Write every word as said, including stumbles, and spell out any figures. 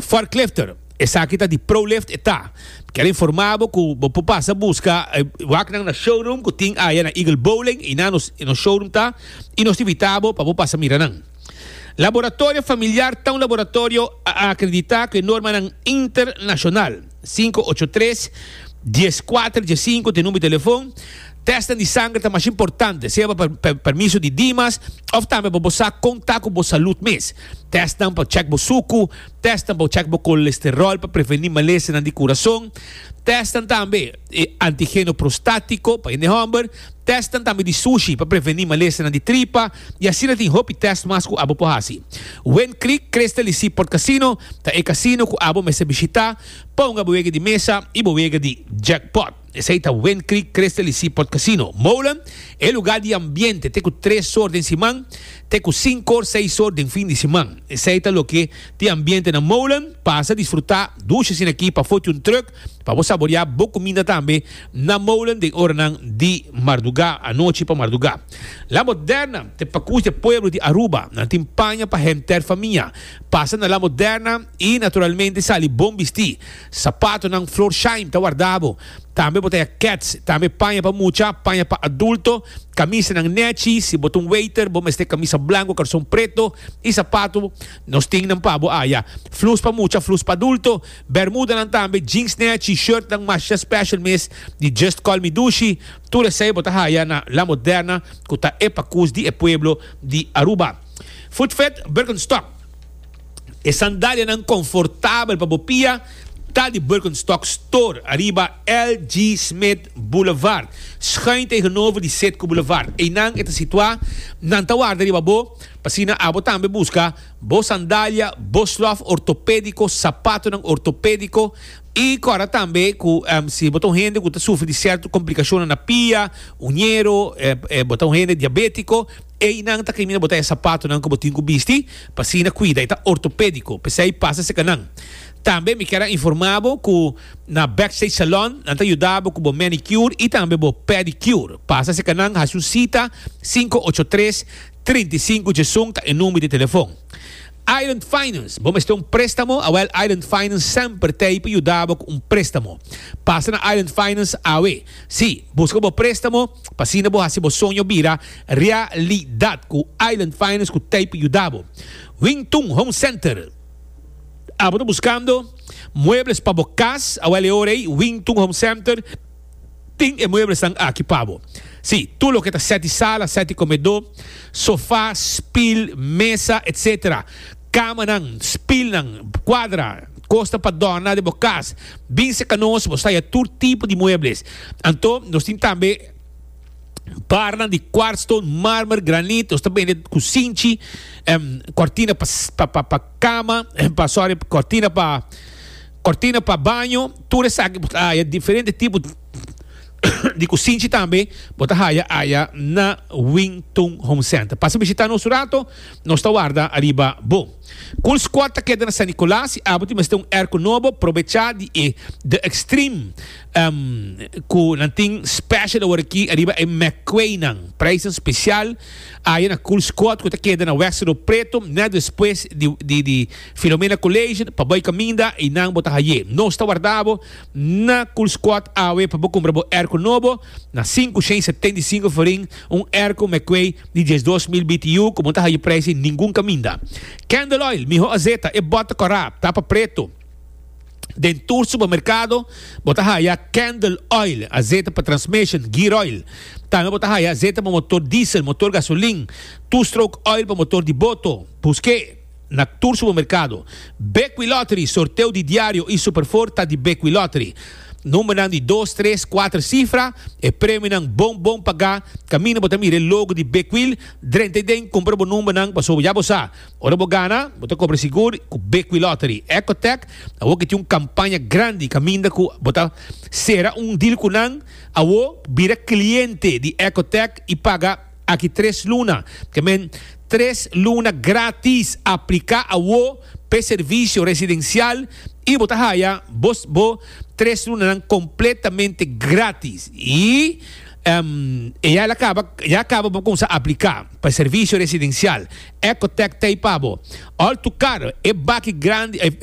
Forklifter. Esaki ta di ProLift e ta. Kier informa bo cu bo por pasa busca eh, wak nan na showroom cu tin aya na Eagle Bowling y na nos no showroom ta y nos ta invita bo pa bo pasa mira nan. Laboratorio Familiar ta un laboratorio acredita cu normanan internacional. cinco ocho tres uno cuatro uno cinco ta e number di telefon. Test di sanger ta mas importante, sea pa permiso di Dimas of tambe pa bo conta cu bo salud mes. Test pa check bo suco, test pa check bo colesterol pa preveni malesa di curason. Test tambe eh, antigeno prostatico pa hende homber, test tambe di sushi pa preveni malesa di tripa y asina tin hopi test mas cu abo por hasi. Wind Creek Crystal y Seaport Casino ta e casino cu abo mester bishita pa un wega di mesa y wega di jackpot. Esey ta Wind Creek Crystal y Seaport Casino. Molen, e lugar di ambiente, te cu tres or di siman, te cu cinco or, seis or di fin di siman. Esey ta loke tin ambiente na Molen, pasa disfruta, dushi asina aki pa foto un truck, pa bo saborea bo cuminda tambe na Molen den oranan di marduga, anochi pa marduga. La Moderna, ta pacus di pueblo di Aruba, nan tin paña pa henter famia. Pasa na La Moderna y naturalmente sali bon bisti. Sapatonan Florsheim ta warda bo. Tambe bo ta haya Keds, tambe paña pa mucha, paña pa adulto, camisanan nechi, si bo ta un waiter, bo mester camisa blanco, carson preto y sapato, nos tin nan pa bo aya. Flus pa mucha, flus pa adulto, bermudanan tambe, jeans nechi, shirt nan masha special mes di Just Call Me Dushi, tur esey bo ta haya na La Moderna, cu ta e pacus di e pueblo di Aruba. Footfit Birkenstock. E sandalianan confortabel pa bo pia ta di Birkenstock Store, ariba L G. Smith Boulevard. Schuin tegenover di Citgo Boulevard. Eynan e ta situa, nan ta warda riba bo, pa asina abo tambe busca bo sandalia, bo slof ortopedico, sapatonan ortopedico y awor tambe cu um, si bo ta un hende cu ta sufri di cierto complicacion na pia, uñero, eh, eh, bo ta un hende diabetico, eynan ta caminda bo ta sapatonan cu bo tin cu bisti, pa asina cuida, ta ortopedico, pesey pasa serca nan. Tambe mi kier informa bo cu na Backstage Salon, nan ta yuda bo cu bo manicure y tambe bo pedicure. Pasa serca nan, hasi un cita, cinco ocho tres trinta y cinco diesun ta e number di telefon. Island Finance, bo mester un prestamo, awel Island Finance semper t'ey pa yuda bo cu un prestamo. Pasa na Island Finance awe. Si, busca bo prestamo, pa asina bo hasi bo soño bira realidad cu Island Finance cu t'ey pa yuda bo. Wingtung Home Center. Abo ta buscando muebles pa bo cas, awel ora Wingtung Home Center tin e mueblesnan aki pa bo. Si, tur loke ta set di sala, set di comedor, sofa, stoel, mesa, et cetera. Camanan, stoelnan, cuadra, cos pa dona di bo cas. Bin serca nos, bo ta haya tur tipo di muebles. Anto, nos tin tambe barnan di quartzstone, marmer, granito, nos tambe cusinchi, um, cortina pa pa pa, pa cama, pa, sorry, cortina pa cortina pa baño, tur esaki, ah, diferente tipo di cusinchi tambe, bo ta haya aya na Wingtung Home Center. Pasa bishita nos rato, nos ta warda ariba bo. Cool Squad ta keda na San Nicolas, abo tin mester un airco nobo, aprovecha di e The Extreme um, cu nan tin special awor aki ariba e McQueen nan, prijs special aya na Cool Squad cu ta keda na West Preto, net despues di, di, di Filomena College, pa bay caminda y nan bo ta haye. Nos ta warda bo na Cool Squad awe pa cumpra bo airco nobo na cinco shen setenta y cinco florin, un airco McQueen di diesdos mil B T U, cu bo no ta haya prijs ningun caminda. Candle Oil, miho azeta, e bota cora, tapa preto. Den tur supermercado, bo ta haya Candle Oil, azeta pa transmission, gear oil. Tambe bo ta haya azeta pa motor diesel, motor gasolin, two-stroke oil pa motor di boto. Busca na tur supermercado. Bequi Lottery, sorteo di diario y superforta di Bequi Lottery. Number di dos, tres, cuater cifra e premionan bon bon paga. Caminda bo ta mira logo di Bequil, drenta den, cumpra bo numbernan, paso ya bo sa. Ora bo gana, bo ta cobra sigur cu Bequi Lottery. Ecotech, awo cu tin un campaña grandi, caminda cu bo ta cera un deal cu nan, awo bira cliente di Ecotech y paga aki tres luna. Kiermen tres luna gratis. Aplica awo pa servicio residencial y bo ta haya bo, bo tres luna completamente gratis. Y um, ya a caba, ya caba pa cuminsa aplica pa servicio residencial. Ecotech t'ey pa bo. All to Car, e baki grandi, e,